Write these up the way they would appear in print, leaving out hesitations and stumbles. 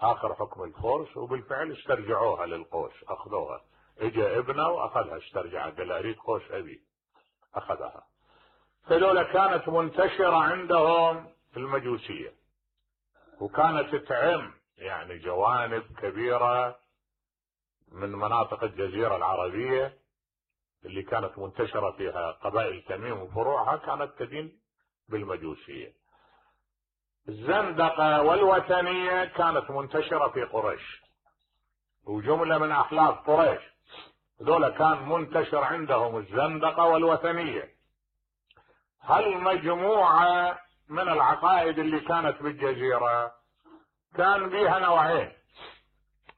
اخر حكم الفرس، وبالفعل استرجعوها للقوس، اخذوها. اجى ابنه واخذها استرجعها، قال اريد قوس ابي، اخذها. هذول كانت منتشرة عندهم المجوسية، وكانت تعم يعني جوانب كبيرة من مناطق الجزيرة العربية اللي كانت منتشرة فيها قبائل تميم وفروعها، كانت تدين بالمجوسية. الزندقة والوثنية كانت منتشرة في قريش، وجملة من أحلاف قريش هذول كان منتشر عندهم الزندقة والوثنية. هالمجموعة من العقائد اللي كانت بالجزيرة كان بيها نوعين.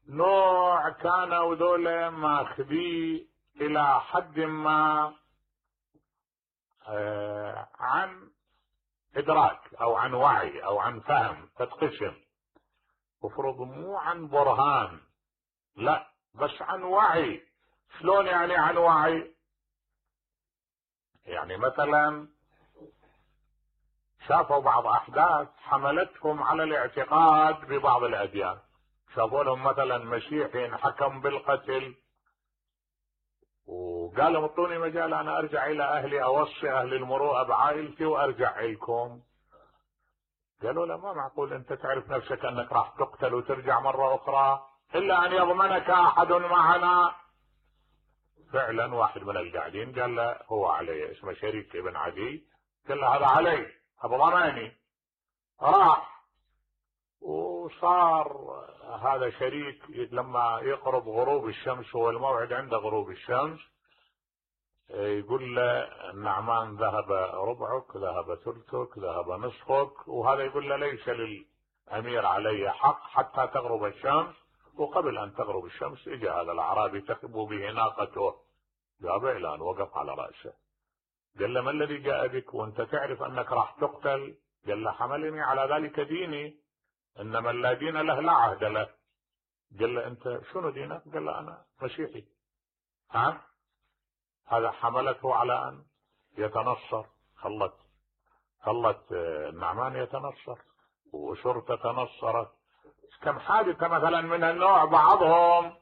نوع كانوا ذولا ماخذي الى حد ما عن ادراك او عن وعي او عن فهم، تتقسم مفروض مو عن برهان، لا بس عن وعي. شلون يعني عن وعي؟ يعني مثلا شافوا بعض احداث حملتهم على الاعتقاد ببعض الاديان، شافوا لهم مثلا مسيحي انحكم بالقتل وقال لهم اعطوني مجال انا ارجع الى اهلي، اوصي اهل المروءه بعائلتي وارجع لكم. قالوا له ما معقول انت تعرف نفسك انك راح تقتل وترجع مره اخرى الا ان يضمنك احد معنا. فعلا واحد من القاعدين قال له هو علي، اسمه شريك ابن عدي، قال له هذا علي هذا ضماني. راح وصار هذا شريك لما يقرب غروب الشمس، هو الموعد عند غروب الشمس، يقول له النعمان ذهب ربعك، ذهب ثلثك، ذهب نصفك، وهذا يقول له ليس للامير علي حق حتى تغرب الشمس. وقبل ان تغرب الشمس اجى هذا الاعرابي تخبو به ناقته، جابه الى ان وقف على راسه، قال له ما الذي جاء بك وانت تعرف انك راح تقتل؟ قال له حملني على ذلك ديني، انما لا دين له لا عهد له. قال له انت شنو دينك؟ قال له انا مسيحي. هذا حملته على ان يتنصر، خلت النعمان يتنصر وشرطة تنصرت. كم حادثة مثلا من النوع، بعضهم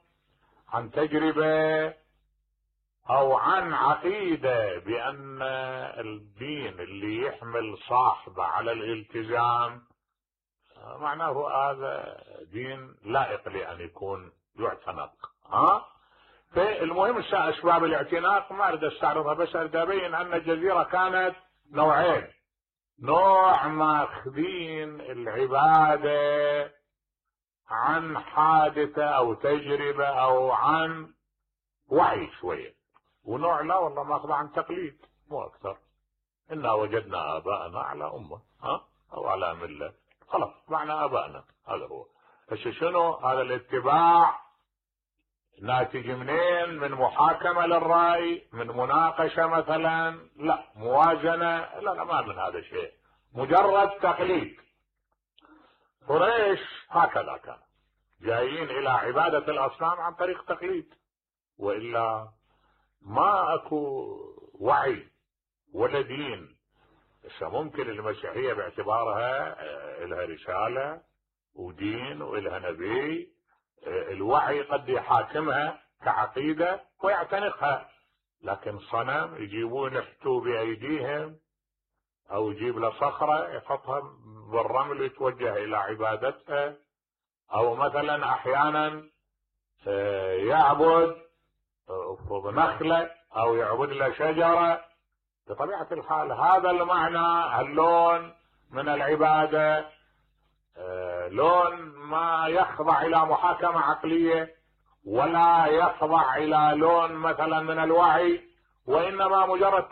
عن تجربة او عن عقيدة بان الدين اللي يحمل صاحبه على الالتزام معناه هذا دين لائق لان يكون يعتنق. فالمهم اسباب الاعتناق ما اريد استعرضها، بس اريد ابين ان الجزيرة كانت نوعين. نوع ماخذين العبادة عن حادثة او تجربة او عن وعي شوية، ونوع لا والله ماخذ عن تقليد مو اكثر. انا وجدنا اباءنا على امة او على ملة، خلاص معنا ابائنا، هذا هو. بس شنو هذا الاتباع؟ ناتج منين؟ من محاكمة للرأي، من مناقشة مثلا، لا موازنة، لا ما من هذا الشيء، مجرد تقليد. قريش هكذا كان جايين الى عبادة الاصنام عن طريق تقليد، والا ما اكو وعي ولا دين. ممكن المسيحية باعتبارها لها رسالة ودين ولها نبي، الوعي قد يحاكمها كعقيدة ويعتنقها، لكن صنم يجيبون يحتوا بايديهم او يجيب له صخرة يحطها بالرمل يتوجه الى عبادتها، او مثلا احيانا يعبد نخلة او يعبد له شجرة. بطبيعة الحال هذا المعنى، اللون من العبادة لون ما يخضع الى محاكمة عقلية ولا يخضع الى لون مثلا من الوعي، وانما مجرد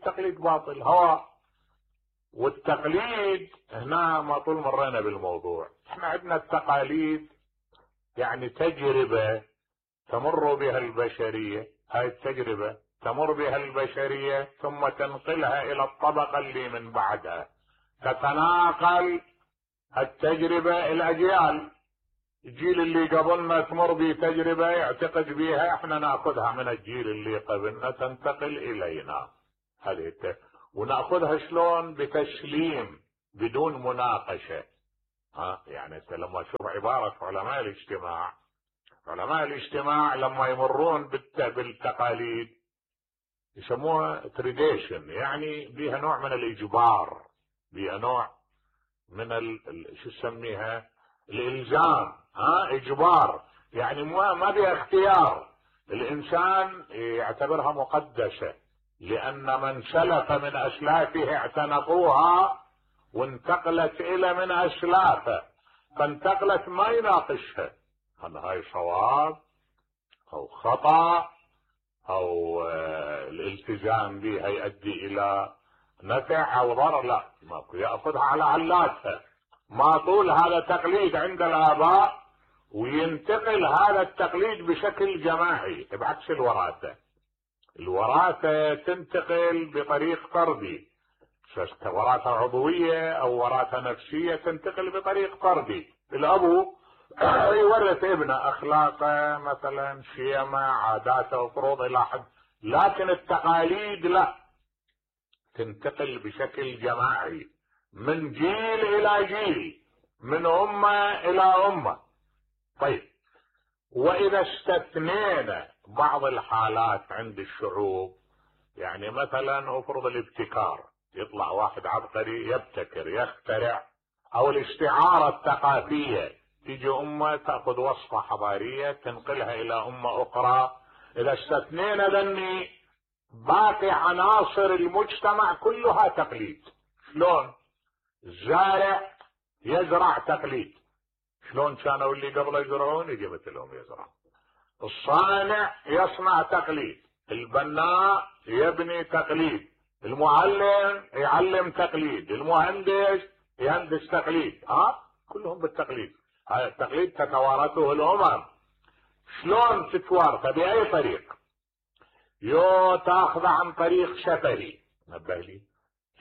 تقليد باطل هوى. والتقليد هنا ما طول مرينا بالموضوع، احنا عندنا التقاليد يعني تجربة تمر بها البشرية، هاي التجربة تمر بها البشرية ثم تنقلها الى الطبقة اللي من بعدها، تتناقل التجربة الاجيال. الجيل اللي قبلنا تمر بتجربة يعتقد بها، احنا ناخذها من الجيل اللي قبلنا تنتقل الينا هذه وناخذها شلون؟ بتسليم بدون مناقشة. يعني انت لما تشوف عبارة علماء الاجتماع لما يمرون بالتقاليد يسموها تريديشن، يعني بيها نوع من الاجبار، بيها نوع من شو تسميها، الالزام، اجبار، يعني ما بيها اختيار. الانسان يعتبرها مقدسة، لان من سلف من اسلافه اعتنقوها وانتقلت الى من اسلافه، فانتقلت ما يناقشها هل هاي صواب او خطأ او الالتزام بها يؤدي الى نفع او ضرر، لا، ماكو، ياخذها على علاتها. ما طول هذا تقليد عند الاباء وينتقل هذا التقليد بشكل جماعي، بعكس الوراثة تنتقل بطريق طردي، وراثة عضوية او وراثة نفسية تنتقل بطريق طردي. الابو يورث ابنه اخلاقه مثلا، شيمه، عاداته وفروض الى حد، لكن التقاليد لا، تنتقل بشكل جماعي من جيل الى جيل، من امه الى امه. طيب، واذا استثنينا بعض الحالات عند الشعوب، يعني مثلا افرض الابتكار، يطلع واحد عبقري يبتكر يخترع، او الاستعارة الثقافية، تيجي امة تأخذ وصفة حضارية تنقلها الى امة اخرى. اذا استثنينا ذني باقي عناصر المجتمع كلها تقليد. شلون؟ الزارع يزرع تقليد، شلون كانوا اللي قبل يزرعون يجي مثلهم يزرع. الصانع يصنع تقليد، البناء يبني تقليد، المعلم يعلم تقليد، المهندس يهندس تقليد، كلهم بالتقليد. هذا التقليد تتوارثه الامم. شلون تتوارثه؟ باي طريق؟ تاخذ عن طريق شفهي، نبه لي،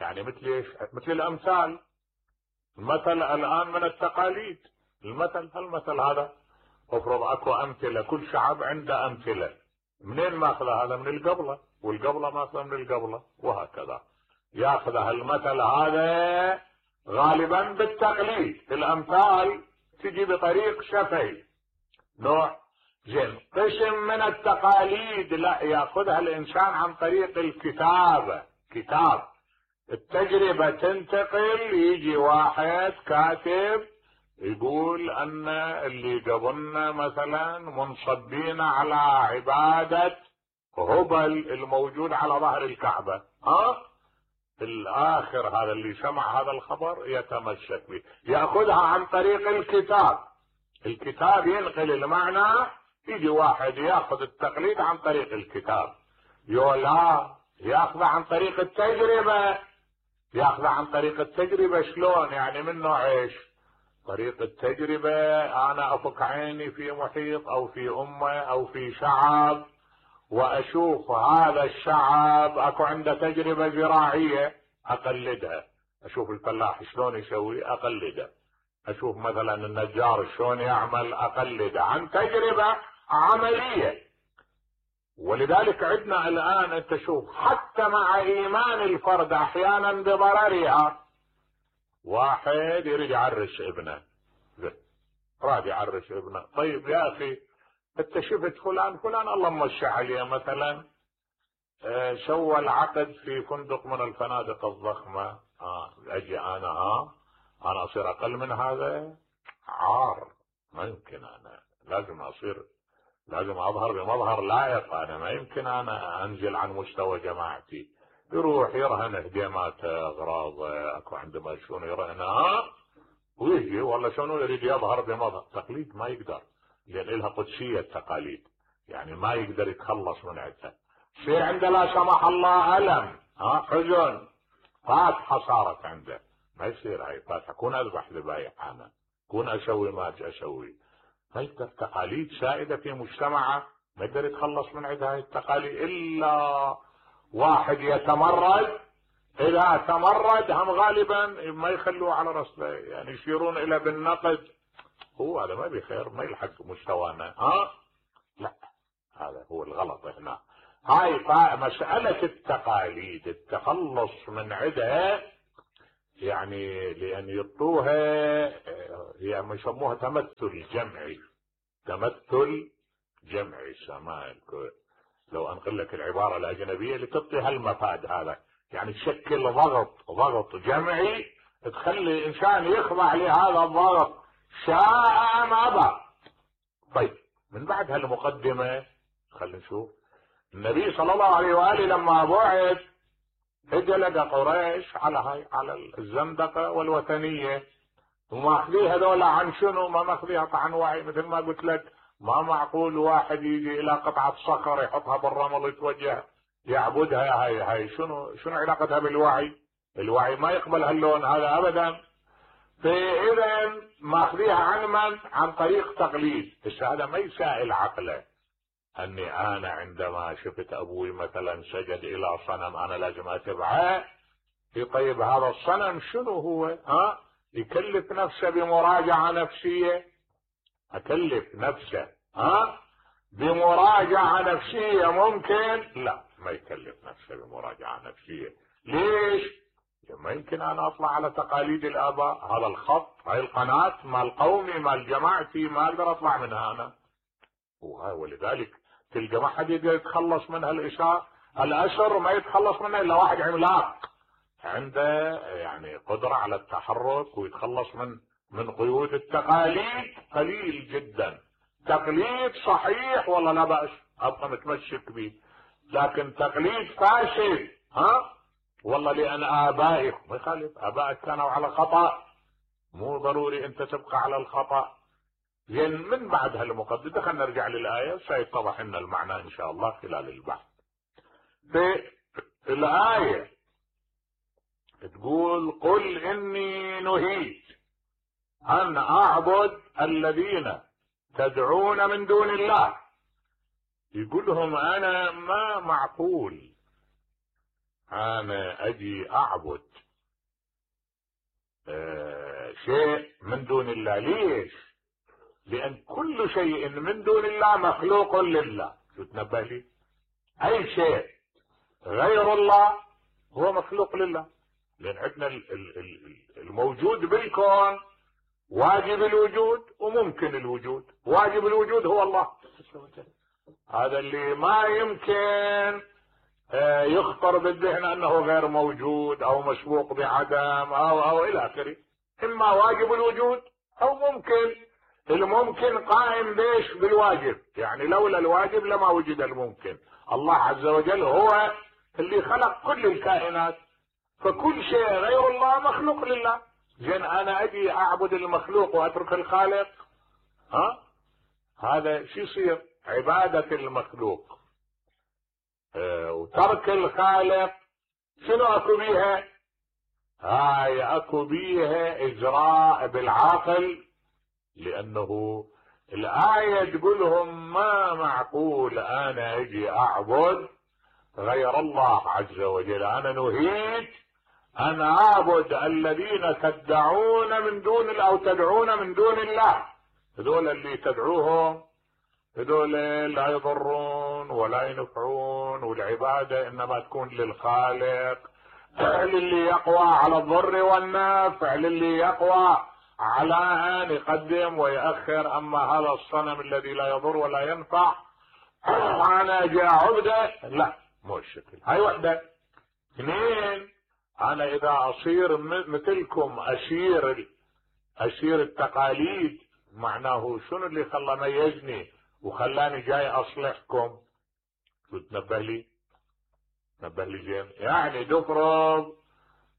يعني مثل ايش؟ مثل الامثال. المثل الان من التقاليد، المثل هذا افرض اكو امثله، كل شعب عنده امثله، منين ماخذ هذا؟ من القبله، والقبله ماخذه من القبله، وهكذا ياخذ المثل هذا غالبا بالتقليد. الامثال تجي بطريق شفهي نوع. زين، قسم من التقاليد لا، ياخذها الانسان عن طريق الكتابه، كتاب، التجربه تنتقل، يجي واحد كاتب يقول ان اللي قبلنا مثلا منصبين على عبادة هبل الموجود على ظهر الكعبة، الاخر هذا اللي سمع هذا الخبر يتمسك به، ياخذها عن طريق الكتاب ينقل المعنى. يجي واحد ياخذ التقليد عن طريق الكتاب، لا، ياخذ عن طريق التجربة. شلون يعني؟ من نوع ايش؟ طريق التجربة، انا افك عيني في محيط او في امة او في شعب، واشوف هذا الشعب اكو عنده تجربة زراعية اقلدها، اشوف الفلاح شلون يسوي اقلده، اشوف مثلا النجار شلون يعمل اقلده، عن تجربة عملية. ولذلك عندنا الان انت شوف، حتى مع ايمان الفرد احيانا بضررها، واحد يريد يعرس ابنه، راد يعرس ابنه، طيب يا اخي انت شفت فلان الله ممشي عليه مثلا، سوى العقد في فندق من الفنادق الضخمة، اجي انا اصير اقل من هذا؟ عار، ما يمكن، انا لازم اظهر بمظهر لائق، انا ما يمكن انا انزل عن مستوى جماعتي. يروح يرهن هديماته، اغراضه، اكو عندما شنو يرهنها، ويجي والله شنو يريد يظهر بمظهر تقليد، ما يقدر، لان لها قدسية التقاليد، يعني ما يقدر يتخلص من عندها. شيء عنده لا سمح الله الم، حزن، فاتحة صارت عنده، ما يصير هاي فاتحة، كون اذبح ذبايح انا، كون اسوي ما اسوي، ما يقدر. تقاليد سائدة في مجتمعه ما يقدر يتخلص من عندها هاي التقاليد الا واحد يتمرد. اذا تمرد هم غالبا ما يخلوه على رسله، يعني يشيرون الى بالنقد، هو هذا ما بخير، ما يلحق مستوانا، لا، هذا هو الغلط هنا. هاي مسألة التقاليد التخلص من عدها يعني لان يطوها، يعني يسموها تمثل جمعي. تمثل جمعي سماء. لو انقل لك العبارة الاجنبية لتعطي هالمفاد هذا، يعني تشكل ضغط جمعي تخلي الانسان يخضع لهذا الضغط شاء ام ابى. طيب من بعد هالمقدمة خلينا نشوف النبي صلى الله عليه واله لما بعث اجى لقى قريش على الزندقة والوثنية، وماخذيه هذول عن شنو؟ ما ماخذيها عن وعي. مثل ما قلت لك ما معقول واحد يجي الى قطعة صخر يحطها بالرمل ويتوجه يعبدها. هاي شنو علاقتها بالوعي؟ الوعي ما يقبل هاللون هذا ابدا. فاذا ماخذيها عن من؟ عن طريق تقليد. بس هذا ما يسائل عقله اني انا عندما شفت ابوي مثلا سجد الى صنم انا لازم اتبعه. طيب هذا الصنم شنو هو؟ يكلف نفسه بمراجعة نفسية؟ اكلف نفسه بمراجعة نفسية ممكن؟ لا، ما يكلف نفسه بمراجعة نفسية. ليش؟ ما يمكن انا اطلع على تقاليد الاباء. هذا الخط، هاي القناة مال قومي مال جماعتي، ما اقدر اطلع منها انا. ولذلك تلقى ما حد يقدر يتخلص من الاسر ما يتخلص منها الا واحد عملاق عنده يعني قدرة على التحرك ويتخلص من قيود التقاليد. قليل جدا. تقليد صحيح والله لا بأس، ابقى متمسك به، لكن تقليد فاشل والله لان ابائك ما يخالف، ابائك كانوا على خطأ، مو ضروري انت تبقى على الخطأ. زين من بعد هالمقدمة خلينا نرجع للآية سيتضح لنا المعنى ان شاء الله خلال البحث. في الآية تقول قل اني نهيت ان اعبد الذين تدعون من دون الله. يقول لهم انا ما معقول انا اجي اعبد شيء من دون الله. ليش؟ لان كل شيء من دون الله مخلوق لله. شو تنبه لي؟ اي شيء غير الله هو مخلوق لله. لان عندنا الموجود بالكون واجب الوجود وممكن الوجود. واجب الوجود هو الله، هذا اللي ما يمكن يخطر بالذهن انه غير موجود او مسبوق بعدم او الى اخره. اما واجب الوجود او ممكن. الممكن قائم بيش؟ بالواجب. يعني لولا الواجب لما وجد الممكن. الله عز وجل هو اللي خلق كل الكائنات، فكل شيء غير الله مخلوق لله. زين انا اجي اعبد المخلوق واترك الخالق؟ هذا شو يصير؟ عبادة المخلوق وترك الخالق شنو اكو بيها؟ هاي اكو بيها اجراء بالعقل. لانه الآية تقولهم ما معقول انا اجي اعبد غير الله عز وجل. انا نهيت ان اعبد الذين تدعون من دون او تدعون من دون الله. هذول اللي تدعوهم هذول لا يضرون ولا ينفعون، والعبادة انما تكون للخالق، للي يقوى على الضر والنفع، للي يقوى على ان يقدم ويأخر. اما هذا الصنم الذي لا يضر ولا ينفع انا جاء عبده، لا مو الشكل. هاي وحدة. اثنين، انا اذا اصير مثلكم اسير التقاليد، معناه شنو اللي خلى ميزني وخلاني جاي اصلحكم؟ شو تنبه لي؟ نبه لي زين. يعني تفرض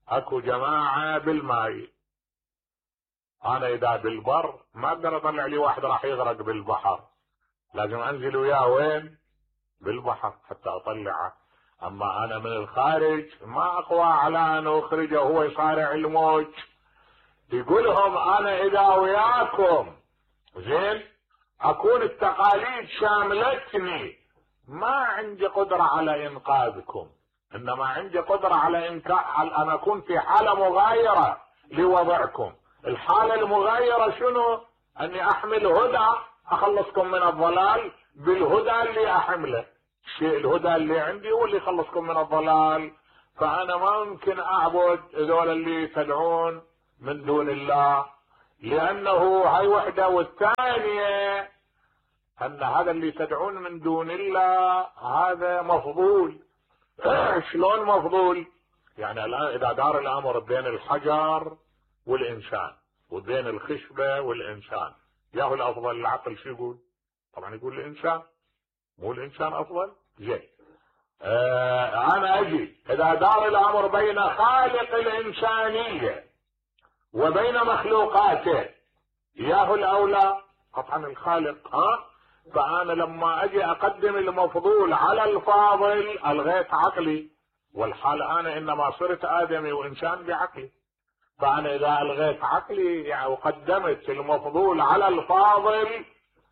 اكو جماعة بالماي، انا اذا بالبر ما اقدر اطلع لي واحد راح يغرق بالبحر، لازم انزل وياه وين؟ بالبحر حتى اطلعه. اما انا من الخارج ما اقوى على ان اخرجه وهو يصارع الموج. يقولهم انا اذا وياكم زين اكون التقاليد شاملتني، ما عندي قدرة على انقاذكم، انما عندي قدرة على ان اكون في حالة مغايرة لوضعكم. الحالة المغايرة شنو؟ اني احمل هدى اخلصكم من الضلال بالهدى اللي احمله. الشيء الهدى اللي عندي هو اللي يخلصكم من الضلال. فانا ما ممكن اعبد هذول اللي تدعون من دون الله، لانه هاي وحده. والثانية ان هذا اللي تدعون من دون الله هذا مفضول. شلون مفضول؟ يعني الان اذا دار الامر بين الحجر والانسان وبين الخشبة والانسان، ياهو الافضل العقل شو يقول؟ طبعا يقول الانسان، مو الانسان افضل؟ زين. انا اجي اذا دار الامر بين خالق الانسانية وبين مخلوقاته، ياهو الاولى طبعا الخالق. فانا لما اجي اقدم المفضول على الفاضل الغيت عقلي، والحال انا انما صرت ادمي وانسان بعقلي. فانا اذا الغيت عقلي يعني وقدمت المفضول على الفاضل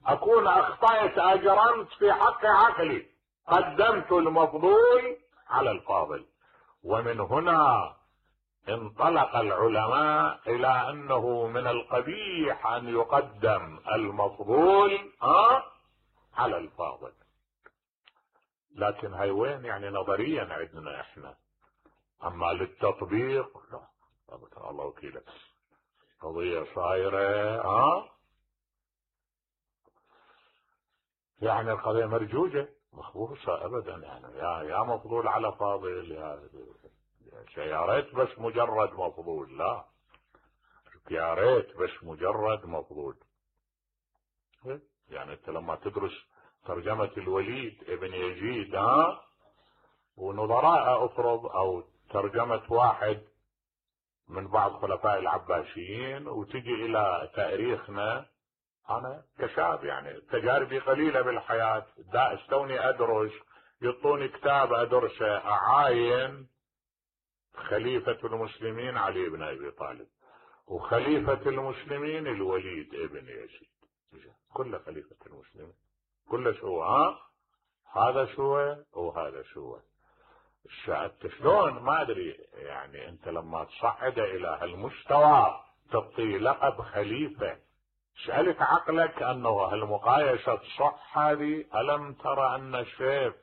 اكون اخطأت، اجرمت في حق عقلي، قدمت المفضول على الفاضل. ومن هنا انطلق العلماء الى انه من القبيح ان يقدم المفضول على الفاضل. لكن هاي وين يعني نظريا عندنا احنا، اما للتطبيق لا. الله وكيلك، قضية صايرة يعني القضية مرجوجة مخبوصة ابدا. يعني يا مفضول على فاضل، يا ريت بس مجرد مفضول، لا يا ريت بس مجرد مفضول. يعني انت لما تدرس ترجمة الوليد ابن يزيد ونظراء افرض، او ترجمة واحد من بعض خلفاء العباسيين، وتجي الى تاريخنا، انا كشاب يعني تجاربي قليلة بالحياة، دا استوني ادرس، يعطوني كتاب ادرسه، اعاين خليفة المسلمين علي بن ابي طالب، وخليفة المسلمين الوليد ابن يزيد، كل خليفة المسلمين كل شو هذا شو وهذا شو. انت شلون ما ادري، يعني انت لما تصعد الى هالمستوى تعطي لقب خليفة، سألت عقلك انه هالمقايسة تصح هذه؟ الم ترى ان السيف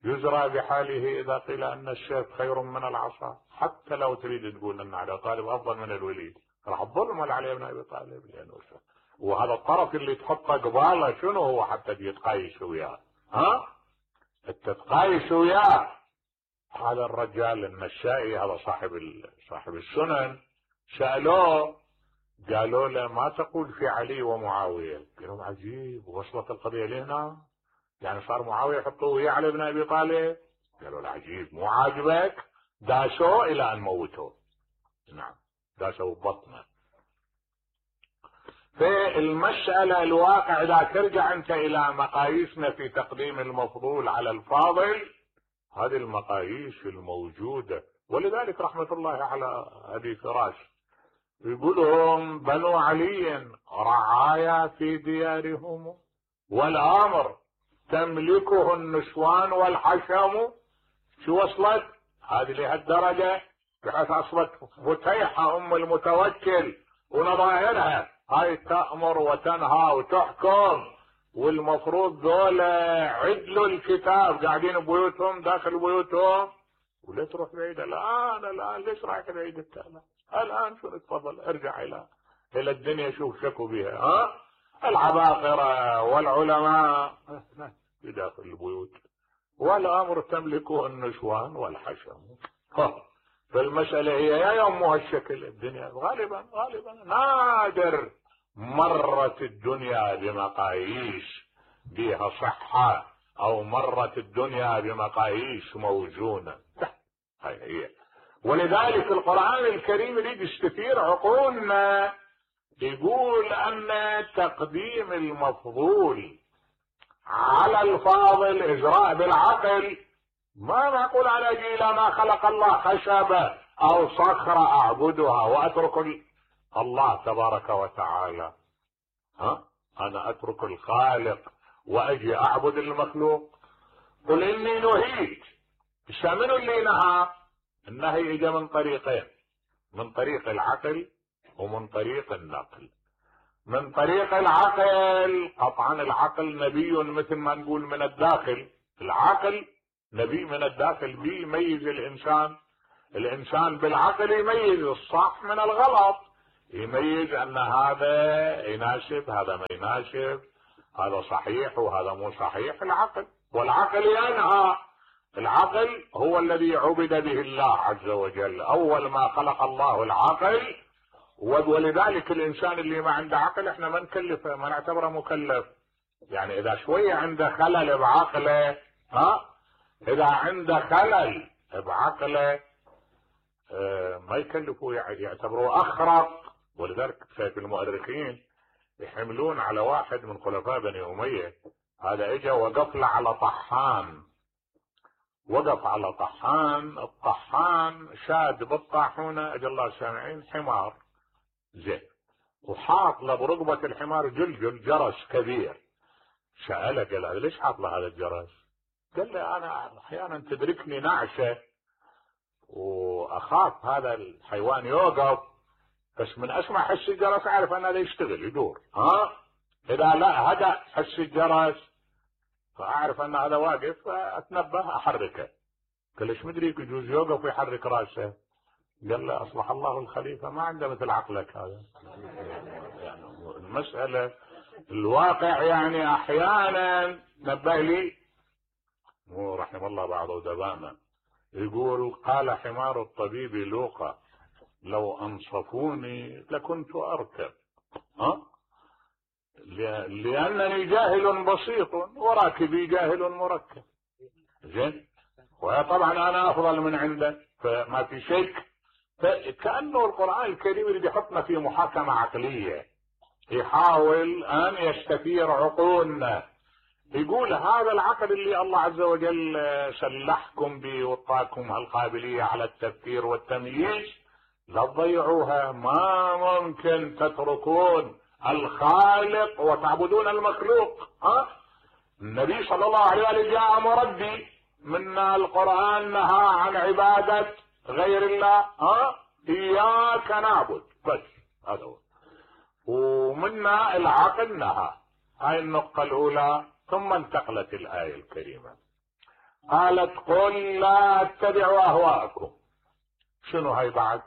يزرى بحاله اذا قيل ان السيف خير من العصا؟ حتى لو تريد تقول ان علي طالب افضل من الوليد، راح تظلم علي بن ابي طالب، لانه وهذا الطرف اللي تحطه قباله شنو هو حتى يتقايس وياه؟ تتقايس وياه. هذا الرجال النشائي هذا صاحب السنن، سألوه قالوا له ما تقول في علي ومعاوية؟ قالوا عجيب، وصلت القضية لهنا، يعني صار معاوية يحطوه ويا علي بن ابي طالب؟ قالوا له عجيب، مو عاجبك؟ داسوه الى ان موتوه. نعم داسوه ببطنه. في المسألة الواقع اذا ترجع انت الى مقاييسنا في تقديم المفضول على الفاضل، هذه المقاييس الموجودة. ولذلك رحمة الله على ابي فراش يقولهم بنو علي رعايا في ديارهم، والامر تملكه النسوان والحشم. شو وصلت هذه لهالدرجة، بحيث اصبحت فتيحة ام المتوكل ونظائرها هاي تأمر وتنهى وتحكم، والمفروض دولة عدلوا الكتاب قاعدين ببيوتهم داخل بيوتهم. ولا تروح بعيد الان ليش رايح بعيد التالي؟ الان شو تفضل ارجع الى الدنيا، شوف شكوا بها العباقرة والعلماء في داخل البيوت، والامر تملكه النسوان والحشم. فالمسألة هي يا يوم هالشكل. الدنيا غالبا نادر مرت الدنيا بمقاييس بها صحة، او مرت الدنيا بمقاييس موزونة. هاي هي. ولذلك القرآن الكريم يريد يستثير عقولنا، يقول ان تقديم المفضول على الفاضل اجراء بالعقل. ما معقول على الى ما خلق الله خشبة او صخرة اعبدها واترك الله تبارك وتعالى. انا اترك الخالق واجي اعبد المخلوق؟ قل اني نهيت. منو اللي نهى؟ النهي اجى من طريقين، من طريق العقل ومن طريق النقل. من طريق العقل قطعا العقل نبي مثل ما نقول من الداخل. العقل نبي من الداخل بي يميز الانسان بالعقل يميز الصح من الغلط، يميز ان هذا يناسب هذا ما يناسب، هذا صحيح وهذا مو صحيح. العقل، والعقل ينهى. العقل هو الذي عبد به الله عز وجل، اول ما خلق الله العقل، ولذلك الانسان اللي ما عنده عقل احنا ما نكلفه، ما نعتبره مكلف. يعني اذا شوية عنده خلل بعقله، اذا عنده خلل بعقله ما يكلفوا، يعني يعتبروه اخرق. ولذلك في المؤرخين يحملون على واحد من خلفاء بني اميه، هذا اجى وقف له على طحان، وقف على طحان، الطحان شاد بالطاحونه اجى الله سامعين حمار زين، وحاط له برقبه الحمار جلجل جرس كبير. سأله قال له ليش حاط له هذا الجرس؟ قال له انا احيانا تدركني نعشه واخاف هذا الحيوان يوقف، بس من اسمع حس الجرس اعرف ان هذا يشتغل يدور، اذا لا هدأ حس الجرس فاعرف ان هذا واقف فاتنبه احركه. قال ليش مدري يجوز يوقف ويحرك راسه؟ قال له اصلح الله الخليفه ما عنده مثل عقلك هذا. يعني المساله الواقع يعني احيانا نبه لي مو رحم الله بعض ادبائنا يقول قال حمار الطبيب لوقا لو انصفوني لكنت اركب، لانني جاهل بسيط وراكبي جاهل مركب. زين، وطبعا انا افضل من عنده فما في شك. فكأنه القرآن الكريم اللي بيحطنا في محاكمة عقلية، يحاول ان يستثير عقولنا، يقول هذا العقل اللي الله عز وجل سلحكم به واعطاكم هالقابلية على التفكير والتمييز لا تضيعوها. ما ممكن تتركون الخالق وتعبدون المخلوق. النبي صلى الله عليه وسلم جاء مربي، منا القرآن نهى عن عبادة غير الله، إياك نعبد بس، هذا هو. ومنا العقل نهى، هاي النقطة الأولى. ثم انتقلت الآية الكريمة قالت قل لا اتبعوا أهواءكم. شنو هاي بعد؟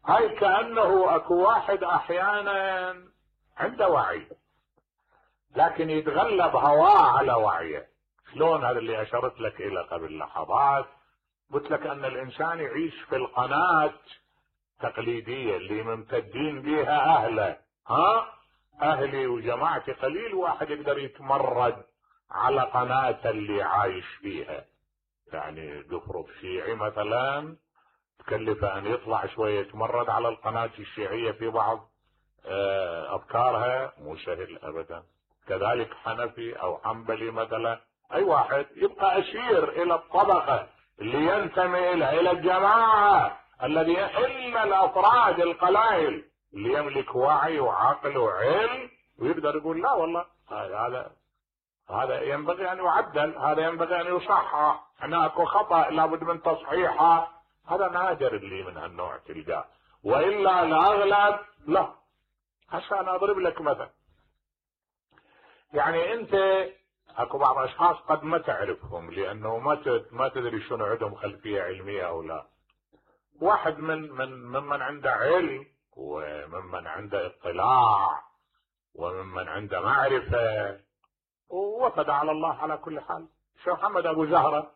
هاي كأنه اكو واحد احيانا عنده وعي لكن يتغلب هواه على وعيه. شلون؟ هذا اللي اشرت لك الى قبل لحظات، قلت لك ان الانسان يعيش في القناة تقليدية اللي ممتدين بها اهله. اهلي وجماعتي قليل واحد يقدر يتمرد على قناة اللي عايش فيها. يعني قفرب شيعي مثلا تكلف ان يطلع شوية يتمرد على القناة الشيعية في بعض افكارها، مو سهل ابدا. كذلك حنفي او حنبلي مثلا، اي واحد يبقى اسير الى الطبقة اللي ينتمي الى الجماعة الذي الا الافراد القلائل اللي يملك وعي وعقل وعلم ويقدر يقول لا والله هذا ينبغي ان يعدل، هذا ينبغي ان يصحح، هناك خطأ لابد من تصحيحه. هذا نادر اللي من هالنوع تلقاه، والا الاغلب لا. هسه انا اضرب لك مثل. يعني انت اكو بعض اشخاص قد ما تعرفهم لانه ما تدري شنو عندهم خلفية علمية او لا. واحد ممن عنده علم وممن عنده اطلاع وممن عنده معرفة ووفد على الله على كل حال. شيخ محمد ابو زهرة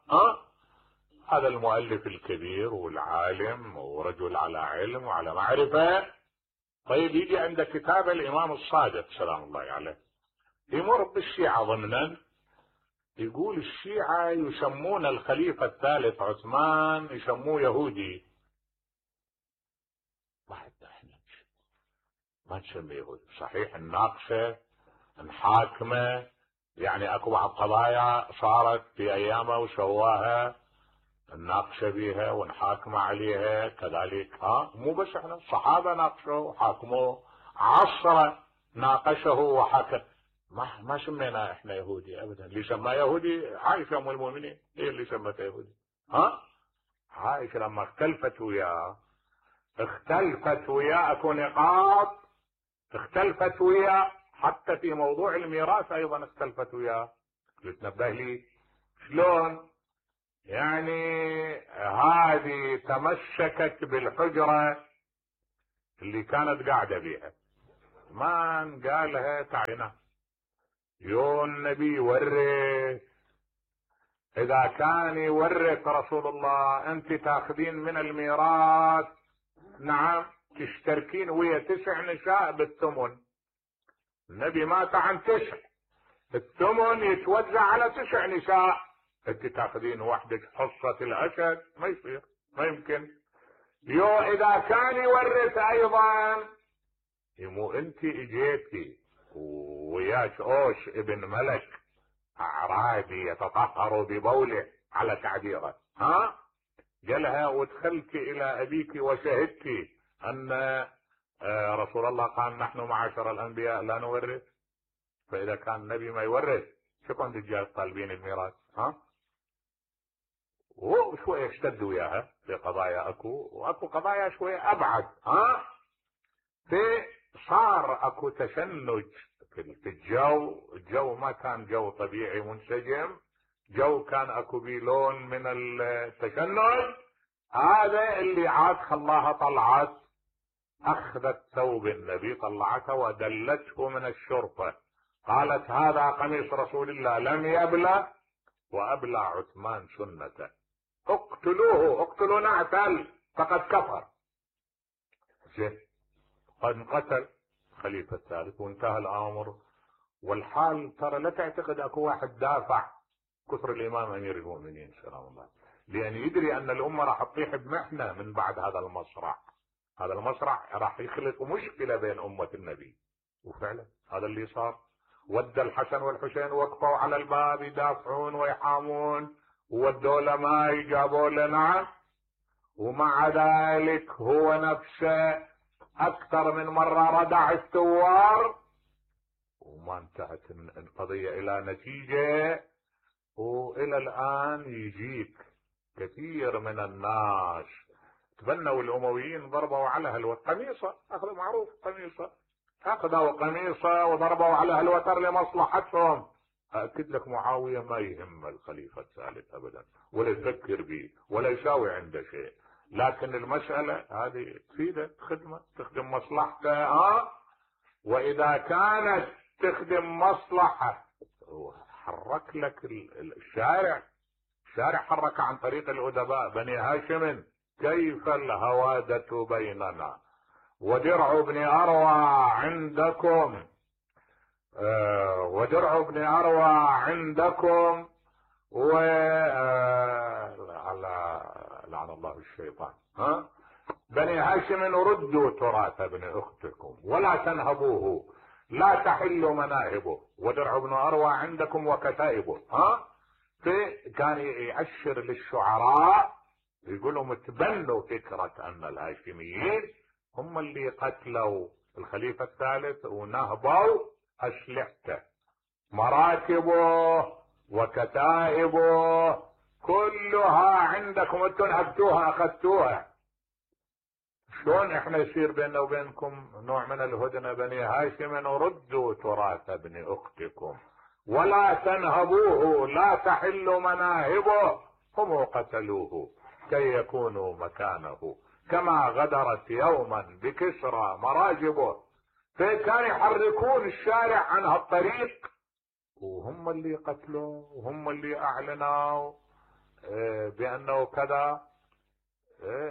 هذا المؤلف الكبير والعالم ورجل على علم وعلى معرفة. طيب يجي عند كتاب الامام الصادق سلام الله عليه، يمر بالشيعة ضمنا، يقول الشيعة يسمون الخليفة الثالث عثمان يسموه يهودي. واحد احنا ما نسميه يهودي، صحيح نناقشه نحاكمه، يعني اكو بعض قضايا صارت في ايامه وسواها نناقشه بيها ونحاكمه عليها كذلك. مو بس احنا، الصحابه ناقشوه وحاكموه، عصره ناقشه وحكم. ما سمينا احنا يهودي ابدا. اللي سماه يهودي عائشه ام المؤمنين، هي اللي سمته يهودي. عائشه لما اختلفت وياه اكو نقاط اختلفت وياه، حتى في موضوع الميراث ايضا اختلفت وياه. تنبه لي شلون؟ يعني هذه تمسكت بالحجرة اللي كانت قاعدة بيها، ما قالها تعينا يو النبي ورث. اذا كان يورث رسول الله انت تاخذين من الميراث، نعم، تشتركين ويا 9 نساء بالثمن. النبي مات عن 9، الثمن يتوزع على 9 نساء، انت تاخذين وحدك حصة الاسد، ما يصير، ما يمكن. يو اذا كان يورث ايضا، يمو انت اجيتي وياك اوش ابن ملك اعرابي يتطهر ببوله على تعبيره، ها، قالها ودخلت الى ابيك وشهدت ان رسول الله قال نحن معاشر الانبياء لا نورث. فاذا كان النبي ما يورث، شو كنت الرجال طالبين الميراث؟ ها، وشويه اشتدوا وياها في قضايا اكو، واكو قضايا شويه ابعد، ها. في صار اكو تشنج في الجو ما كان جو طبيعي منسجم، جو كان اكو بيه لون من التشنج. هذا اللي عاد خلاها طلعت، اخذت ثوب النبي طلعته ودلته من الشرطة، قالت هذا قميص رسول الله لم يبلى وابلى عثمان سنته، اقتلوه، اقتلوا نعتل فقد كفر. زين، قد قتل خليفة الثالث وانتهى الامر والحال. ترى لا تعتقد اكو واحد دافع كفر الامام امير المؤمنين سلام الله، لان يدري ان الامة راح تطيح بمحنة من بعد هذا المصرع. هذا المصرع راح يخلق مشكلة بين امة النبي، وفعلا هذا اللي صار. ودى الحسن والحسين وقفوا على الباب يدافعون ويحامون، وودوا له ماي جابوا له، نعم، ومع ذلك هو نفسه اكثر من مرة ردع الثوار وما انتهت القضية الى نتيجة. والى الان يجيك كثير من الناس تبنوا الامويين ضربوا على القميصة، اخذوا معروف قميصة، اخذوا قميصة وضربوا على الوتر لمصلحتهم. اكد لك معاوية ما يهم الخليفة الثالث ابدا، ولا يفكر به ولا يساوي عنده شيء، لكن المسألة هذه تفيده خدمة، تخدم مصلحته، واذا كانت تخدم مصلحة حرك لك الشارع حرك عن طريق الادباء بني هاشم كيف الهوادة بيننا ودرع ابن اروى عندكم، ودرع ابن اروى عندكم، و لعن الله الشيطان، بني هاشم ردوا تراث ابن اختكم ولا تنهبوه، لا تحلوا مناهبه، ودرع ابن اروى عندكم وكتائبه. كان يأشر للشعراء يقول لهم تبنوا فكرة ان الهاشميين هم اللي قتلوا الخليفة الثالث ونهبوا اسلحته، مراكبه وكتائبه كلها عندكم، انتم نهبتوها اخذتوها. شلون احنا يصير بيننا وبينكم نوع من الهدنة؟ بني هاشم ردوا تراث ابن اختكم ولا تنهبوه، لا تحلوا مناهبه، هم قتلوه كي يكونوا مكانه، كما غدرت يوما بكسرى مراجبه. فكان يحركون الشارع عن هالطريق، وهم اللي قتلوا وهم اللي اعلنوا بانه كذا.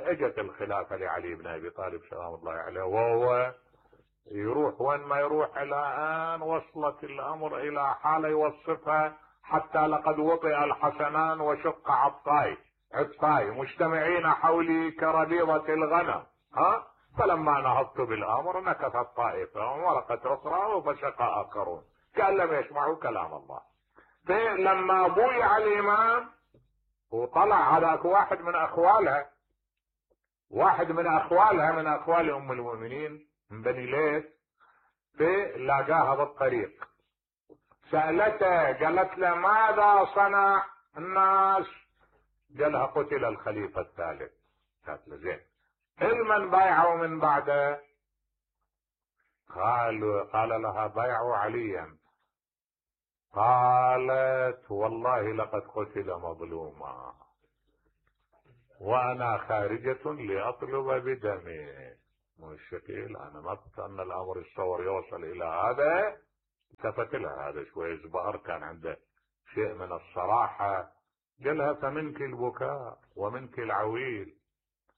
اجت الخلافة لعلي بن ابي طالب سلام الله عليه، وهو يروح وين ما يروح، الى ان وصلت الامر الى حالة يوصفها حتى لقد وطئ الحسنان وشق عطفاي مجتمعين حولي كربيضة الغنم. فلما نهضت بالامر نكثت طائفة وورقت اخرى وفشق اخرون كأن لم يسمعوا كلام الله. لما بويع الامام وطلع هذاك واحد من اخوالها من اخوال ام المؤمنين من بني ليث، لاقاها بالطريق، سألته قالت له ماذا صنع الناس؟ قالها قتل الخليفة الثالث. قالت له زين، من بايعوا من بعده؟ قال لها بايعوا عليا. قالت والله لقد قتل مظلوما. وانا خارجة لاطلب بدمي. مو الشكل انا ما كنت ان الامر يتصور يوصل الى هذا. التفت لها هذا شوي زبار، كان عنده شيء من الصراحة. قالها فمنك البكاء ومنك العويل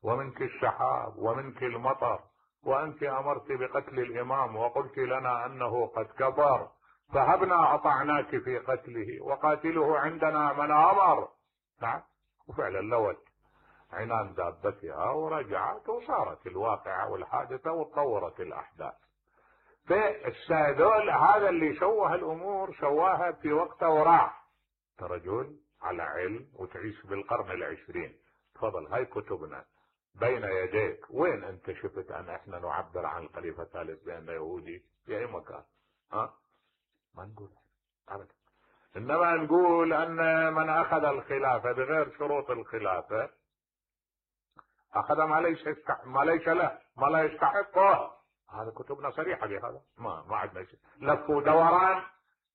ومنك السحاب ومنك المطر، وانت امرت بقتل الامام وقلت لنا انه قد كفر، فهبنا اطعناك في قتله وقاتله عندنا من امر. نعم. وفعلا لوت عنان دابتها ورجعت وصارت الواقعة والحادثة وتطورت الاحداث. فالسادول هذا اللي شوه الامور شواها في وقته وراح. رجل على علم وتعيش بالقرن العشرين. تفضل هاي كتبنا بين يديك. وين انت شفت ان احنا نعبر عن الخليفة الثالث بانه يهودي في اي مكان؟ ما نقول ابدا. انما نقول ان من اخذ الخلافة بغير شروط الخلافة اخذ ما ليس له، ما لا يستحقه. هذا كتبنا صريحة بهذا. ما عندنا شيء لف ودوران.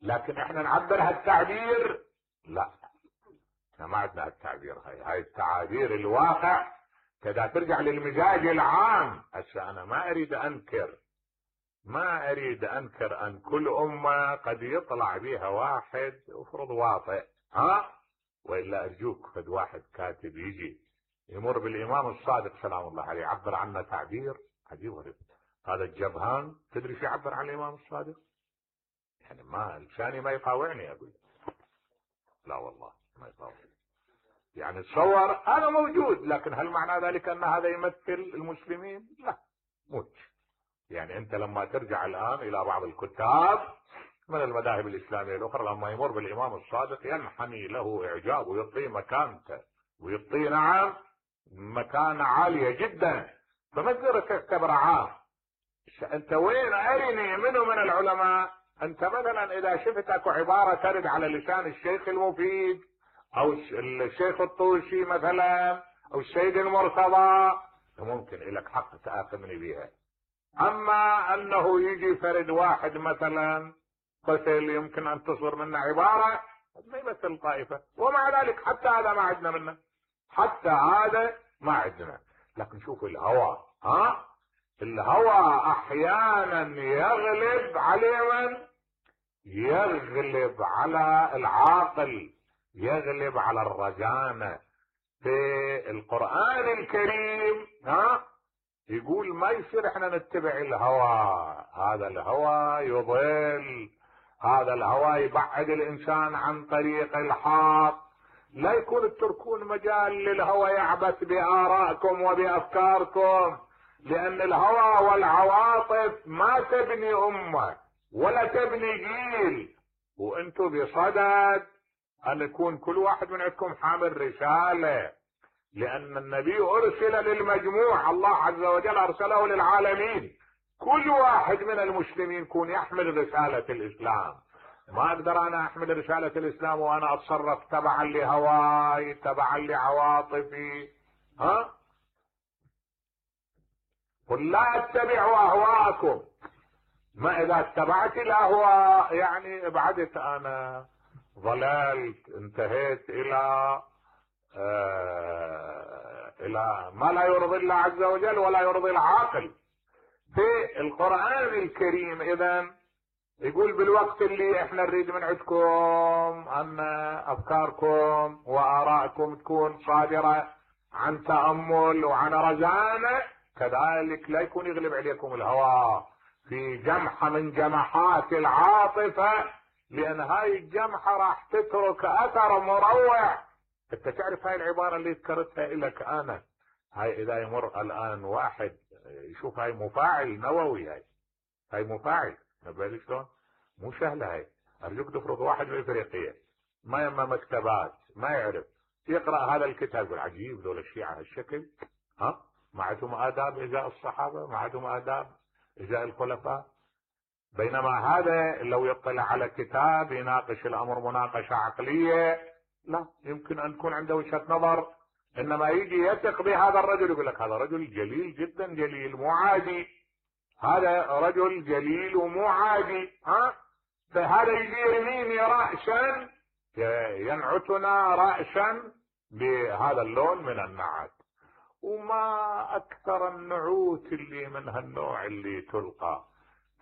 لكن احنا نعبر هالتعبير؟ لا، احنا ما عندنا هالتعبير. هاي التعابير الواقع كذا ترجع للمزاج العام. هسه انا ما اريد انكر ان كل امة قد يطلع بها واحد افرض واطئ، والا ارجوك فد واحد كاتب يجي يمر بالامام الصادق سلام الله عليه يعبر عنه تعبير عجيب غريب. هذا الجبهان تدري شو يعبر عن الامام الصادق؟ يعني ما لساني ما يطاوعني اقول. لا والله ما يطاوعني. يعني تصور هذا موجود، لكن هل معنى ذلك ان هذا يمثل المسلمين؟ لا، موت. يعني انت لما ترجع الان الى بعض الكتاب من المذاهب الاسلاميه الاخرى لما يمر بالامام الصادق ينحني له اعجاب ويعطيه مكانته ويعطيه نعم مكانه عاليه جدا. فما تقدر تعتبر عام. انت وين ارني منه من العلماء. انت مثلا اذا شفت اكو عباره ترد على لسان الشيخ المفيد او الشيخ الطوسي مثلا او السيد المرتضى ممكن لك حق تآخذني بها. اما انه يجي فرد واحد مثلا قتل يمكن ان تصدر منه عبارة ما يمثل طائفة، ومع ذلك حتى هذا ما عندنا منه، حتى هذا ما عندنا. لكن شوف الهوى، الهوى احيانا يغلب على من؟ يغلب على العاقل، يغلب على الرجانة. في القرآن الكريم يقول ما يصير احنا نتبع الهوى. هذا الهوى يضل، هذا الهوى يبعد الانسان عن طريق الحق. لا يكون تتركون مجال للهوى يعبث بآرائكم وبأفكاركم، لأن الهوى والعواطف ما تبني أمة ولا تبني جيل. وانتم بصدد ان يكون كل واحد من عندكم حامل رسالة، لأن النبي أرسل للمجموع، الله عز وجل أرسله للعالمين. كل واحد من المسلمين يكون يحمل رسالة الإسلام. ما أقدر أنا أحمل رسالة الإسلام وأنا أتصرف تبعا لهواي تبعا لعواطفي. قل لا اتبعوا أهواءكم. ما إذا اتبعت الأهواء يعني ابعدت أنا، ضللت، انتهيت إلى ما لا يرضي الله عز وجل ولا يرضي العاقل. في القرآن الكريم إذن يقول بالوقت اللي احنا نريد من عندكم ان افكاركم وارائكم تكون صادرة عن تأمل وعن رزانة، كذلك لا يكون يغلب عليكم الهوى في جمحة من جمحات العاطفة، لان هاي الجمحة راح تترك اثر مروع. انت تعرف هاي العبارة اللي ذكرتها لك انا، هاي اذا يمر الان واحد يشوف هاي مفاعل نووي، هاي مفاعل بالك شلون؟ مو سهلة هاي. ارجوك تفرض واحد من افريقيا ما يما مكتبات ما يعرف يقرأ هذا الكتاب يقول عجيب ذول الشيعة هالشكل، ما عندهم آداب ازاء الصحابة، ما عندهم آداب ازاء الخلفاء. بينما هذا لو يطلع على كتاب يناقش الامر مناقشة عقلية لا يمكن ان تكون عنده وجهة نظر، انما يجي يثق بهذا الرجل يقول لك هذا رجل جليل جدا، جليل مو عادي، هذا رجل جليل ومو عادي. فهذا يجي يرميني رأسا ينعتنا رأسا بهذا اللون من النعت. وما اكثر النعوت اللي من هالنوع اللي تلقى،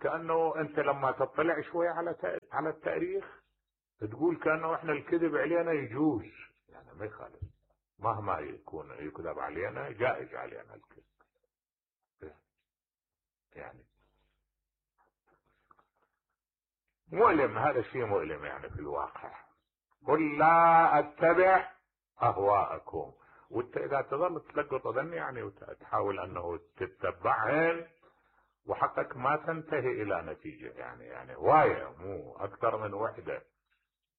كأنه انت لما تطلع شوي على التاريخ تقول كأنه احنا الكذب علينا يجوز، يعني ما يخالف، مهما يكون يكذب علينا جائز علينا الكذب. يعني مؤلم، هذا الشيء مؤلم يعني في الواقع. قل لا اتبع اهواءكم، وانت اذا تظل تلقط اذن يعني وتحاول انه تتبعهن وحقك ما تنتهي الى نتيجة، يعني هواية مو اكثر من وحدة،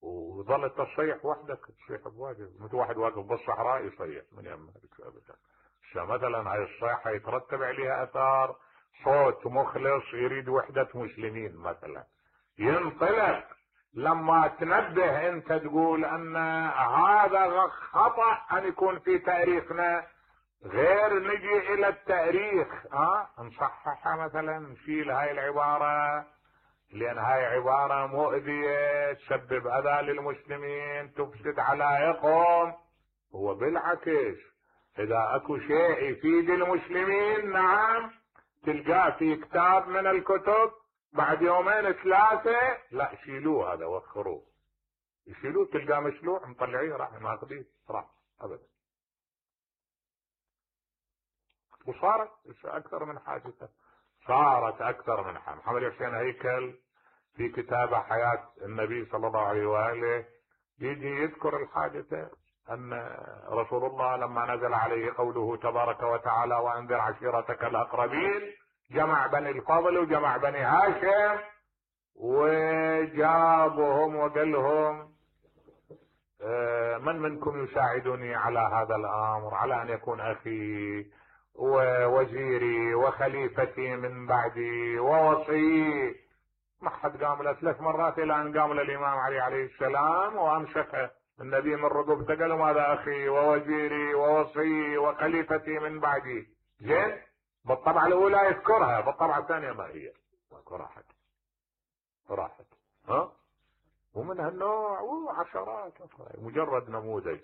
وظلت تصيح وحدك تصيح بواجب، مثل واحد واقف بالصحراء يصيح من يمك ابدا. مثلا هاي الصيحة يترتب عليها اثار صوت مخلص يريد وحدة مسلمين مثلا، ينطلق. لما تنبه انت تقول ان هذا خطأ ان يكون في تاريخنا، غير نجي الى التاريخ نصححها مثلا، نشيل هاي العبارة لان هاي عبارة مؤذية تسبب اذى للمسلمين تفسد علائقهم. هو بالعكس اذا اكو شيء يفيد المسلمين نعم تلقاه في كتاب من الكتب، بعد يومين ثلاثة لا شيلوه هذا وخروه، يشيلوه تلقاه مشلوع مطلعيه راح ماخذيه راح ابدا. وصارت اكثر من حادثة، صارت اكثر من حادثة. محمد حسين هيكل في كتابه حياة النبي صلى الله عليه وآله يجي يذكر الحادثة ان رسول الله لما نزل عليه قوله تبارك وتعالى وانذر عشيرتك الاقربين، جمع بني الفضل وجمع بني هاشم وجابهم وقال لهم من منكم يساعدني على هذا الامر، على ان يكون اخي ووزيري وخليفتي من بعدي ووصي. ما حد قام له 3 مرات الى ان قام للامام علي عليه السلام وامسك النبي من رقبته قال له ماذا اخي ووزيري ووصي وخليفتي من بعدي. زين بالطبعة الاولى يذكرها، بالطبعة الثانية ما هي راحت ومن هالنوع وعشرات مجرد نموذج.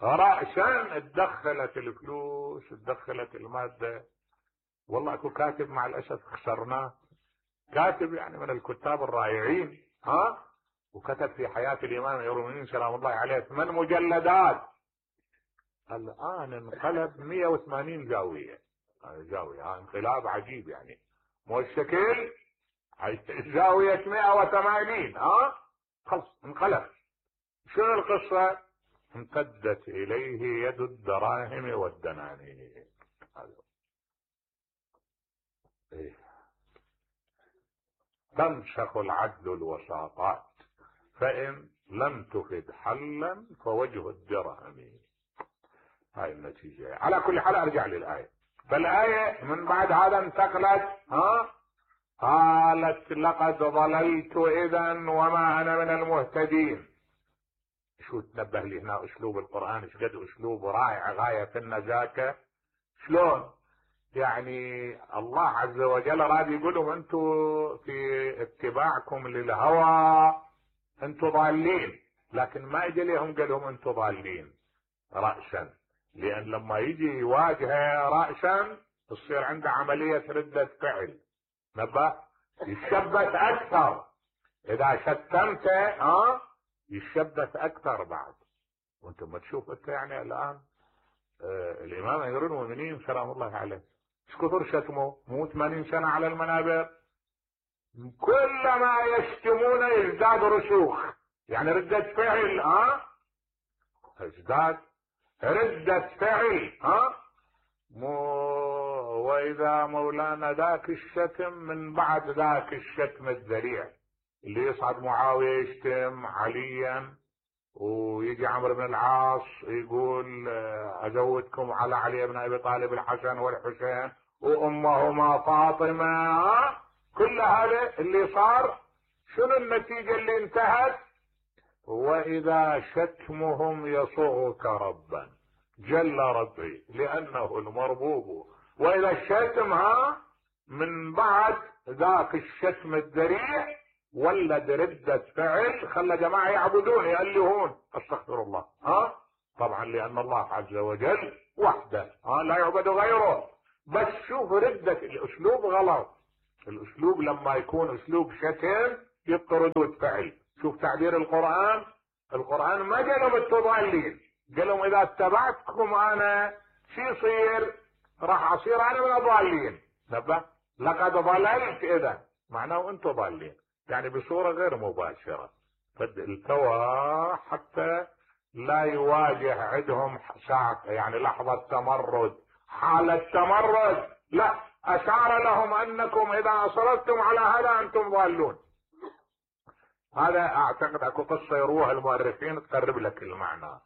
رأسا اتدخلت الفلوس اتدخلت المادة. والله اكو كاتب مع الاسف خسرناه، كاتب يعني من الكتاب الرائعين وكتب في حياة الامام امير المؤمنين سلام الله عليه 8 مجلدات، الان انقلب 180 زاوية. انقلاب عجيب يعني، مو الشكل زاوية 180 خلص انقلب. شنو القصة؟ امتدت اليه يد الدراهم والدنانير. تنسخ العدل الوساطات فان لم تفد حلا فوجه الدرهم. هاي النتيجة. على كل حال ارجع للآية. فالآية من بعد هذا انتقلت قالت لقد ضللت اذا وما انا من المهتدين. شو تنبه لي هنا اسلوب القرآن ايش قد اسلوب رائع غاية في النزاكة. شلون يعني الله عز وجل راد يقولهم انتوا في اتباعكم للهوى انتوا ضالين، لكن ما اجى لهم قال لهم انتوا ضالين رأسا، لان لما يجي يواجهه رأسا تصير عنده عملية ردة فعل. نبه يشبث اكثر، اذا شتمته يشبث اكثر بعد. وانت ما تشوف انت يعني الان الامام امير المؤمنين سلام الله عليه ايش كثر شتمه، مو 80 سنة على المنابر، كلما يشتمون يزداد رسوخ، يعني ردة فعل ازداد ردة فعل واذا مولانا ذاك الشتم من بعد ذاك الشتم الذريع اللي يصعد معاوية يشتم عليا ويجي عمرو بن العاص يقول ازودكم على علي بن ابي طالب الحسن والحسين وامهما فاطمة. كل هذا اللي صار شنو النتيجة اللي انتهت؟ واذا شتمهم يصغك ربا جل ربي لانه المربوب. واذا الشتم من بعد ذاك الشتم الذريع ولد ردة فعل خلى جماعة يعبدون يألهون استغفر الله طبعا لان الله عز وجل وحده لا يعبد غيره. بس شوف ردة الاسلوب غلط. الاسلوب لما يكون اسلوب شتم يبقى ردود فعل. شوف تعبير القرآن ما قالهم انتم ضالين، قالهم اذا اتبعتكم انا شو يصير؟ راح اصير انا من الضالين. نبه لقد ضللت، اذا معناه انتم ضالين، يعني بصورة غير مباشرة. فالتوى حتى لا يواجه عندهم ساعة يعني لحظة تمرد، حالة تمرد، لا، اشار لهم انكم اذا اصررتم على هذا انتم ضالون. هذا اعتقد اكو قصة يروها المؤرخين تقرب لك المعنى.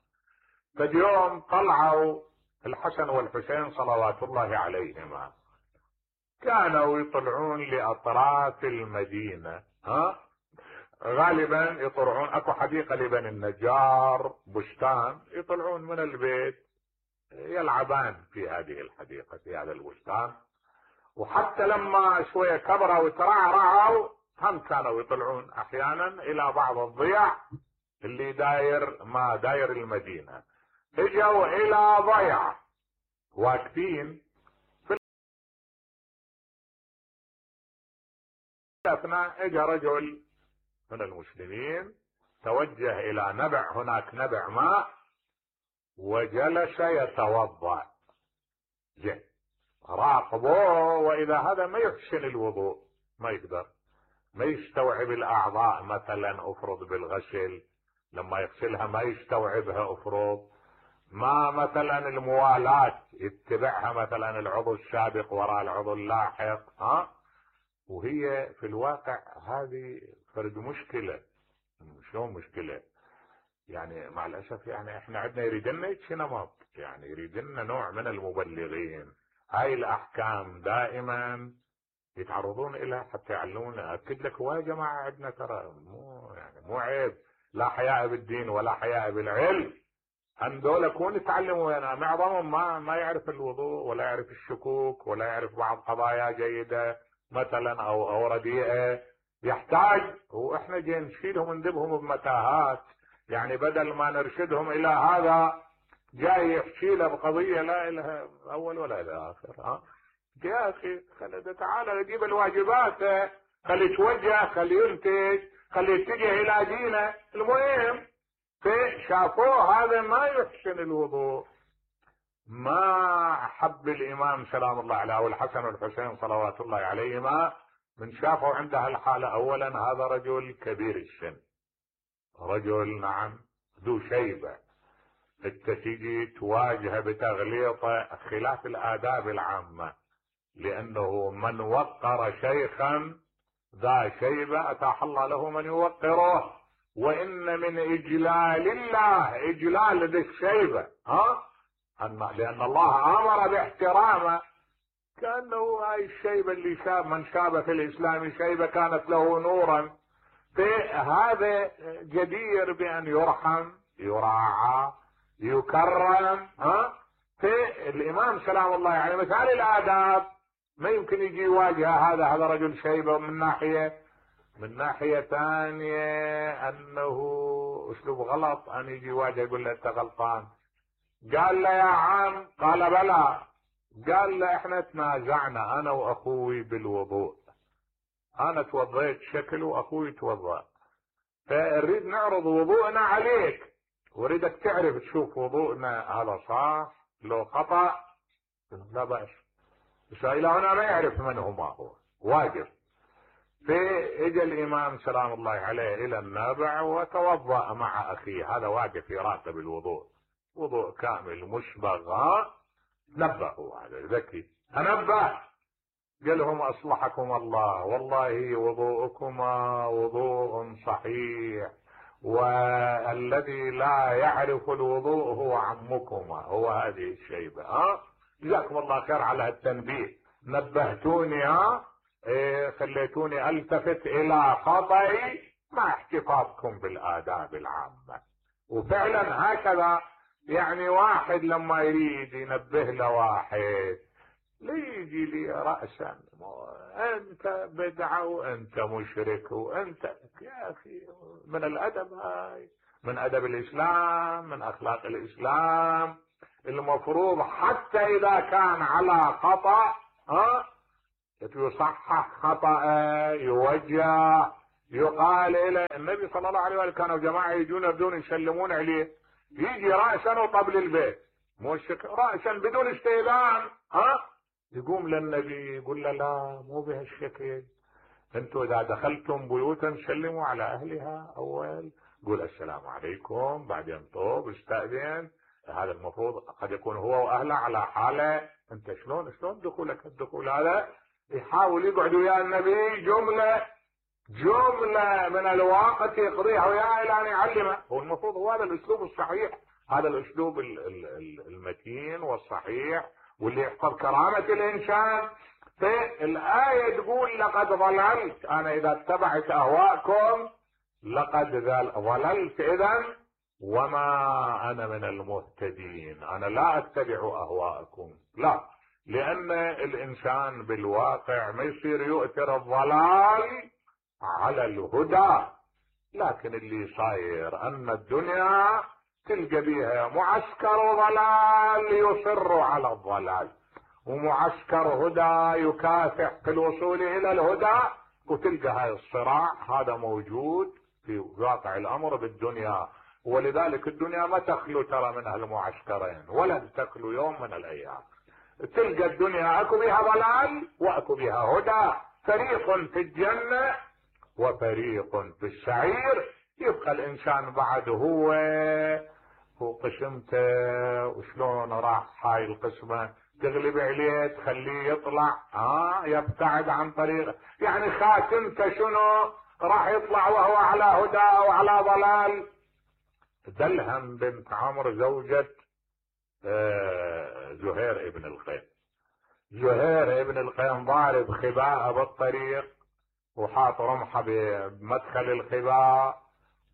فاليوم طلعوا الحسن والحسين صلوات الله عليهما، كانوا يطلعون لاطراف المدينة، غالبا يطلعون اكو حديقة لبني النجار، بستان، يطلعون من البيت يلعبان في هذه الحديقة في هذا البستان. وحتى لما شوية كبروا وترعرعوا هم كانوا يطلعون احيانا الى بعض الضيع اللي داير المدينة. اجوا الى ضيع واقفين، في الاثناء اجا رجل من المسلمين توجه الى نبع، هناك نبع ماء، وجلس يتوضا. زين، راقبوه، واذا هذا ما يحسن الوضوء، ما يقدر، ما يستوعب الاعضاء مثلا، افرض بالغسل لما يغسلها ما يستوعبها، افرض ما مثلا الموالاة يتبعها مثلا العضو السابق وراء العضو اللاحق، وهي في الواقع هذه فرد مشكلة. شلون مشكلة؟ يعني مع الاسف يعني احنا عندنا يريدنا نمط، يعني يريدنا نوع من المبلغين. هاي الاحكام دائما يتعرضون الها حتى يعلمونا. اكد لك هو يا جماعه عندنا ترى مو عيب، لا حياء بالدين ولا حياء بالعلم. هندول كون يتعلموا، انا معظمهم ما يعرف الوضوء ولا يعرف الشكوك ولا يعرف بعض قضايا جيده مثلا او رديئه، يحتاج، واحنا جاي نشيلهم ونذبهم بمتاهات. يعني بدل ما نرشدهم الى هذا جاي يحكي له بقضيه لا لها اول ولا لها اخر. يا اخي تعال جيب الواجبات، خلي يتوجه، خلي ينتج، خلي يتجه الى دينه. المهم شافوه هذا ما يحسن الوضوء، ما حب الامام سلام الله عليه والحسن والحسين صلوات الله عليهما من شافوا عنده هالحالة. اولا هذا رجل كبير السن، رجل نعم ذو شيبة، انت تيجي تواجهه بتغليطه خلاف الاداب العامة، لانه من وقر شيخا ذا شيبة اتاح الله له من يوقره. وان من اجلال الله اجلال ذي الشيبة، لان الله امر باحترامه، كانه هاي الشيبة اللي من شاب في الاسلام شيبة كانت له نورا. فهذا جدير بان يرحم، يراعى، يكرم. فالامام سلام الله عليه مثال الاداب ما يمكن يجي يواجه هذا رجل شيبة من ناحية ثانية انه اسلوب غلط، ان يجي يواجه يقول له انت غلطان. قال له يا عم، قال بلى، قال له احنا تنازعنا انا واخوي بالوضوء، انا توضيت شكل واخوي توضأ، فنريد نعرض وضوءنا عليك، واريدك تعرف تشوف وضوءنا هذا صح لو خطأ. لا بأس، بس الى هنا ما يعرف من هو واجب. فاجى الامام سلام الله عليه الى النابع وتوضأ مع اخيه، هذا واقف يراقب الوضوء، وضوء كامل مشبغ. نبهوا، هذا ذكي تنبه، قال لهم اصلحكم الله، والله وضوءكما وضوء صحيح، والذي لا يعرف الوضوء هو عمكما، هو هذه الشيبة. جزاكم الله خير على التنبيه، نبهتوني، خليتوني التفت الى خطئي مع احتفاظكم بالاداب العامة. وفعلا هكذا، يعني واحد لما يريد ينبه له واحد ليجي لي رأسا انت بدعة وانت مشرك وانت، يا اخي من الادب هاي من ادب الاسلام، من اخلاق الاسلام. المفروض حتى اذا كان على خطأ يصحح خطأ، يوجه، يقال الى النبي صلى الله عليه وسلم كانوا جماعة يجون يبدون يسلمون عليه، يجي رأسا وطبل البيت، مش رأسا بدون استئذان، يقوم للنبي يقول له لا مو بهالشكل، انتوا اذا دخلتم بيوتا سلموا على اهلها اول، قول السلام عليكم، بعدين طوب استأذن. هذا المفروض قد يكون هو واهله على حاله، انت شلون دخولك الدخول هذا؟ يحاول يقعد ويا النبي جملة من الوقت يقضيها وياه الى ان يعلمه. هو المفروض هو هذا الاسلوب الصحيح، هذا الاسلوب المتين والصحيح واللي يحفظ كرامة الانسان. فالآية تقول لقد ضللت، انا اذا اتبعت اهواءكم لقد ضللت اذا وما انا من المهتدين، انا لا اتبع اهواءكم، لا، لان الانسان بالواقع ما يصير يؤثر الضلال على الهدى. لكن اللي صاير ان الدنيا تلقى بيها معسكر ضلال يصر على الضلال، ومعسكر هدى يكافح في الوصول الى الهدى، وتلقى هاي الصراع هذا موجود في واقع الامر بالدنيا. ولذلك الدنيا ما تخلو ترى من هالمعسكرين، ولن تخلو يوم من الايام. تلقى الدنيا اكو بها ضلال واكو بها هدى، فريق في الجنة وفريق في السعير. يبقى الانسان بعد هو قسمته، وشلون راح هاي القسمة تغلب عليه تخليه يطلع يبتعد عن طريق، يعني خاتمته شنو؟ راح يطلع وهو على هدى وعلى ضلال. دلهم بنت عمرو زوجة زهير ابن القيم. زهير ابن القيم ضارب خباء بالطريق وحاط رمحة بمدخل الخباء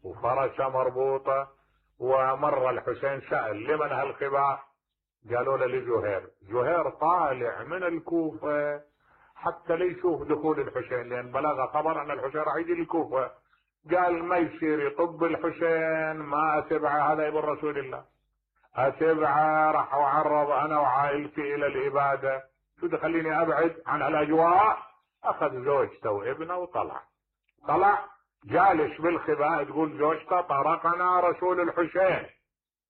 وفرشة مربوطة، ومر الحسين سأل لمن هالخباء؟ قالوا له لزهير. زهير طالع من الكوفة حتى ليشوف دخول الحسين، لان بلغ خبر ان الحسين راح يجي الكوفة. قال ما يصير يطب الحسين، ما اتبعه، هذا ابن رسول الله، اتبعه راح اعرض انا وعائلتي الى الابادة، شو تخليني ابعد عن الاجواء؟ اخذ زوجته وابنه وطلع جالس بالخباء. تقول زوجته طرقنا رسول الحسين،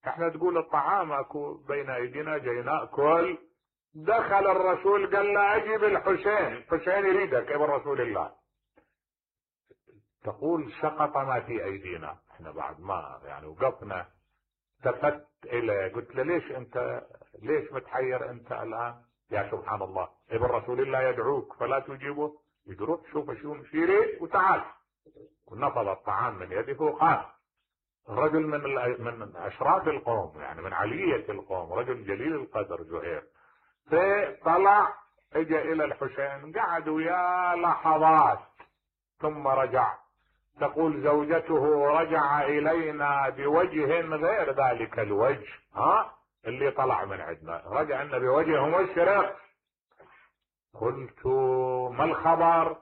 احنا تقول الطعام اكو بين ايدينا جاي ناكل، دخل الرسول قال له اجيب الحسين يريدك ابن رسول الله. تقول سقط ما في ايدينا، احنا بعد ما يعني وقفنا، التفت اليه قلت له ليش متحير انت الان؟ يا سبحان الله، ابن رسول الله يدعوك فلا تجيبه، يروح شوف شو يريد وتعال. ونفض الطعام من يده وقال. رجل من اشراف القوم، يعني من علية القوم، رجل جليل القدر زهير. فطلع اجى الى الحسين، قعد وياه لحظات ثم رجع. تقول زوجته رجع الينا بوجه غير ذلك الوجه اللي طلع من عندنا، رجع لنا بوجه مشرق. قلت ما الخبر؟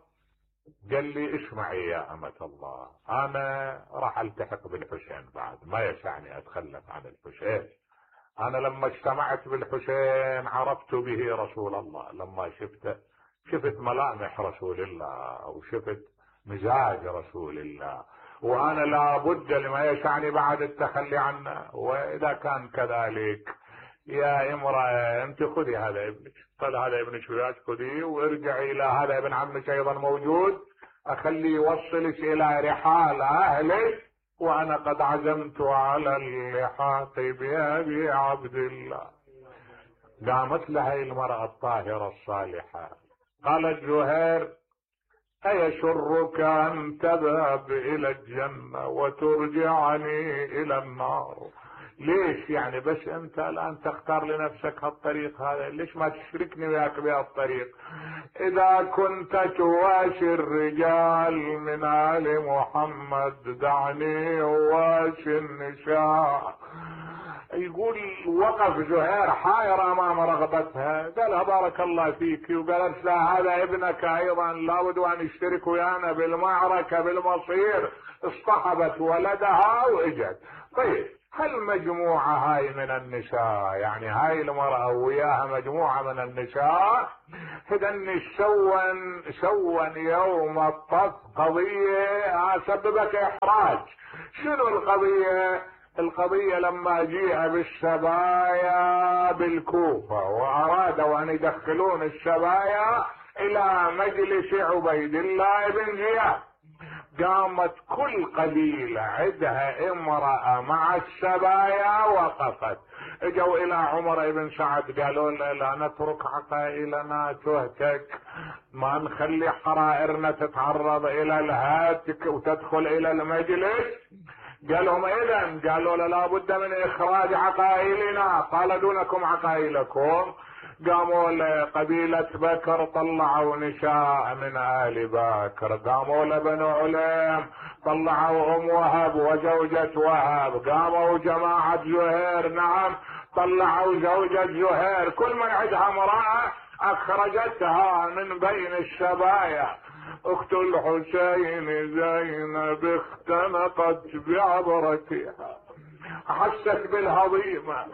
قال لي اسمعي يا أمة الله، انا راح التحق بالحسين، بعد ما يسعني اتخلف عن الحسين. انا لما اجتمعت بالحسين عرفت به رسول الله، لما شفت ملامح رسول الله وشفت مزاج رسول الله، وانا لابد لما يسعني بعد التخلي عنه. واذا كان كذلك يا امرأة انت خذي هذا ابنك، قال هذا ابنك وياك خذيه وارجعي الى هذا ابن عمك ايضا موجود، اخليه يوصلك الى رحال اهلك، وانا قد عزمت على اللحاق بابي عبد الله. قامت لها المرأة الطاهرة الصالحة قالت زهير ايشرك ان تذهب الى الجنة وترجعني الى النار؟ ليش يعني بس انت الان تختار لنفسك هالطريق هذا؟ ليش ما تشركني وياك بهالطريق؟ اذا كنت تواشي الرجال من آل محمد دعني اواشي النساء. يقول وقف زهير حائر امام رغبتها، قالها بارك الله فيك، وقالت لا هذا ابنك ايضا لابد ان يشترك ويانا بالمعركة بالمصير. اصطحبت ولدها واجت. طيب هل مجموعة هاي من النساء، يعني هاي المرأة وياها مجموعة من النساء، هدن سوا يوم الطف قضية سببت احراج. شنو القضية؟ القضية لما جيء بالسبايا بالكوفة وارادوا ان يدخلون السبايا الى مجلس عبيد الله بن زياد، قامت كل قبيلة عندها امرأة مع السبايا وقفت. اجوا الى عمر بن سعد قالوا له لا نترك عقائلنا تهتك، ما نخلي حرائرنا تتعرض الى الهاتك وتدخل الى المجلس. قالهم اذا، قالوا له لابد من اخراج عقائلنا. قال دونكم عقائلكم. قاموا لقبيلة بكر طلعوا نساء من آل بكر، قاموا لبنو عليم طلعوا ام وهب وزوجة وهب، قاموا جماعة زهير نعم طلعوا زوجة زهير، كل من عندها امرأة اخرجتها من بين السبايا. اخت الحسين زينب اختنقت بعبرتها، حست بالهضيمة،